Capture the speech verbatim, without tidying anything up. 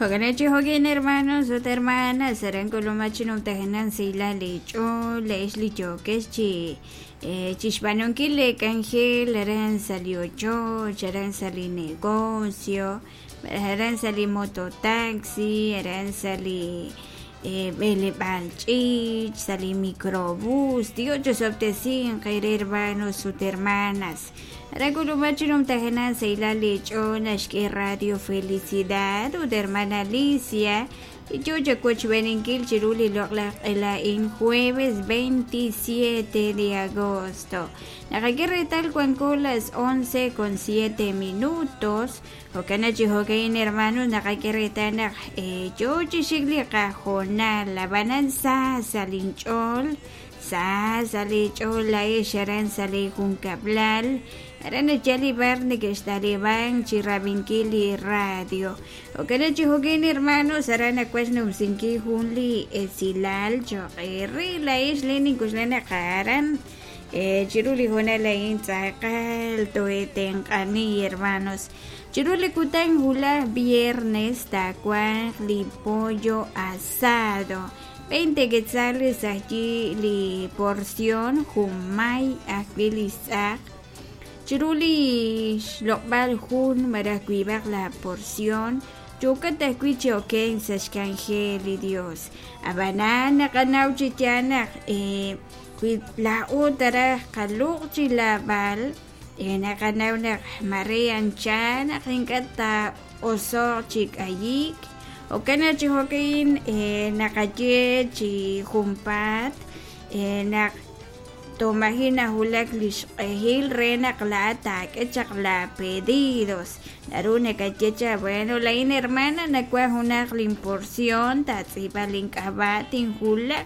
Jo'kan chi jo'kin hermanos ut hermanas aran k'ulumaj chi numtajenaq sahilal li ch'ool la'ex li yookex chi chixb'aanunkil li k'anjel aran sa' li ochoch, aran sa' li negocio, aran sa' li mototaxi, aran sa' li b'eleb'aal ch'iich', sa' li microbús. Dios chosob'tesinq eere hermanos ut hermanas. Aran k'ulumaj chi numtajenaq sahilal li ch'ool naxk'e Radio Felicidad ut hermana Alicia yo chawochb'eninkil chiru li loq'laj q'ela'in jueves veintisiete de agosto. Naqak'e reetal wanko las once con siete minutos. Jo'kan chi jo'kan hermanos naqak'e reetal naq yo chi xik li qajoonal ab'anan sa sa' linch'ool sa sa' li ch'ool la'ex aran sa' li junkab'lal aran nachal li bar neke'xtaliban chi rab'inkil li radio. Jo'kan chi jo'kan hermanos aran nakuach numsinkil jun li esilal cho'q eere la'ex le ninkuxlan naq aran chiru li hoonal a'in tz'aqal toetenq'ani hermanos. Chiru li kutan wulaj viernes taawanq li pollo asado veinte quetzales allí li porción junmay ajwi' li tz'aq chiru li xloq'b'al jun malaj wiib'aq la porción yookat ajwi' chi okenk sa' xk'anjel li Dios. Ab'anan naqanaw chi yaal naq wi laa'o taraj qaluq' chi lab'al naqanaw naq mare ancha naq ink'a' taa'oso'q chi k'ayik. Jo'kan chi jo'kan naqaye chi junpaat naq tomaji najulak li xq'ehil re naq laa'at taak'e chaq la pedidos. Naru nakaye cha bueno la'in hermana nakuaj junaq linporción taatz'iib'a link'ab'a' tinjulaq